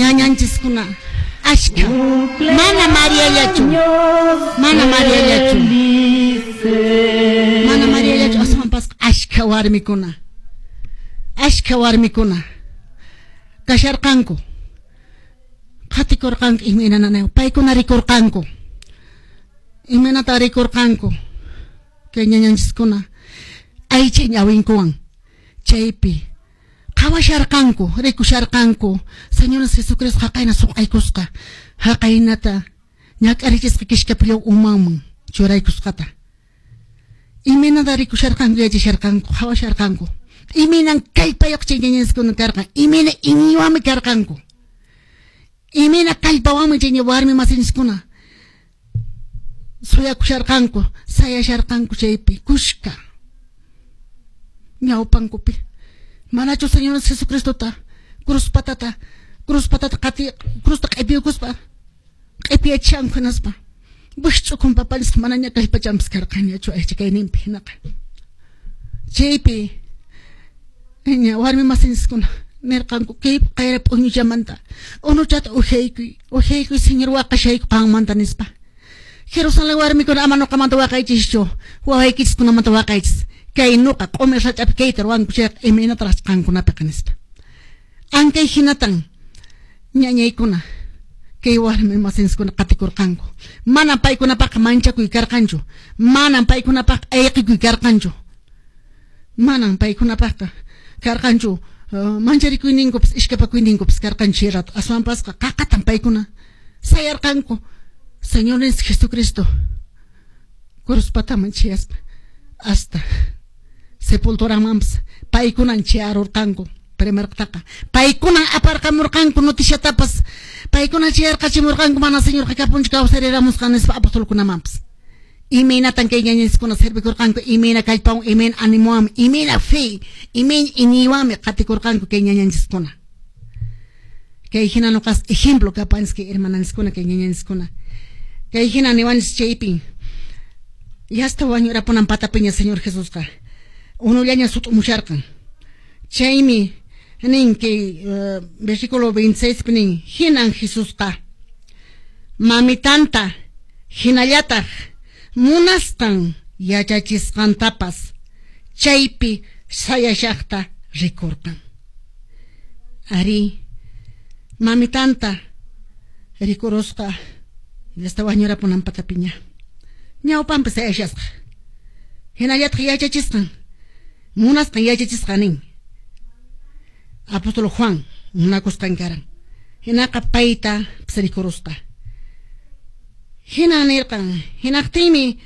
Ñañanchiskuna ashka. Mana Mariallachu. Mana Mariallachu. Mana Mariallachu aswanpas ashka warmikuna. Ashka warmikuna. Kasharqanku. Qatikurqanku imayna nanaywan. Paykuna rikurqanku. Imaynata rikurqanku. Kay ñañanchiskuna aycha ñawinkuwan chaypi qhawasharqanku, rikusharqanku Señor Jesucristo haqayna suq'aykusqa, haqaynata ñak'arichisqa kishkapillaw umanman churaykusqata. Imaynata rikusharqanku, yachasharqanku, qhawasharqanku. Imaynan kallpayuq chay ñañanchiskuna karqan, imayna iñiywanmi karqanku. Imayna kallpawanmi chay warmi masinchiskuna suyakusharqanku, sayasharqanku chaypi kushka ñawpankupi. Manachu Señor Jesucristota cruz patata, cruz patata qati, cruzta q'ipiyukuspa q'ipiyachishanku hinaspa wikch'ukun papanchisqa manaña kallpachanpas karqanñachu aycha kayninpi hinaqa. Chaypi ña warmi masinchiskuna nirqanku kay qayra p'uñuchamanta unuchata ujaykuy, ujaykuy Señor waqashayku qanmanta nispa. Jerusalén warmikuna ama nuqamanta waqaychischu, wawaykichiskunamanta waqaychis. Kay nuqa q'umir sach'api kayta ruwanku chayqa imaynataraq qankunapiqa nispa. Ankay hinatan ñañaykuna kay warmi masinchiskuna qatikurqanku. Manan paykunapaqqa manchakuy karqanchu, manan paykunapaqqa ayqikuy karqanchu. Manan paykunapaqqa karqanchu mancharikuyninkupas ishkapakuyninkupas karqanchu chay rato. Aswanpasqa qaqatan paykuna sayarqanku Señorninchis Jesucristo cruz pataman chayaspa hasta sepulturamanpas paykunan chayarurqanku. Primertaqa paykunan aparqamurqanku noticiatapas, paykuna chayarqachimurqanku mana Señorqa kapunchu kawsariramusqa nispa apostolkunamanpas. Imaynatan kay ñañanchiskuna servikurqanku, imayna kallpawan, imayna animowanmi, imayna fe, imayna iñiywanmi qatikurqanku kay ñañanchiskuna. Kay hina nuqas ejemplo kapanchis kay hermananchiskuna, kay ñañanchiskuna. Kay hina niwanchis chaypin yasta wañurapunan patapiña Señor Jesusqa unullaña sut'umusharqan. Chaymi nin kay versículo 26 pi nin, hinan Jesusqa mamitanta hinallataq munasqan yachachisqantapas chaypi sayashaqta rikurqan. Ari, mamitanta rikurusqa yasta wañurapunan patapiña. Ñawpanpi sayashasqa. Hinallataq yachachisqan, munasqan yachachisqa nin. Apóstol Juan munakusqan karan. Hinaqa payta rikurusqa. Hina nirqan, hinaqtinmi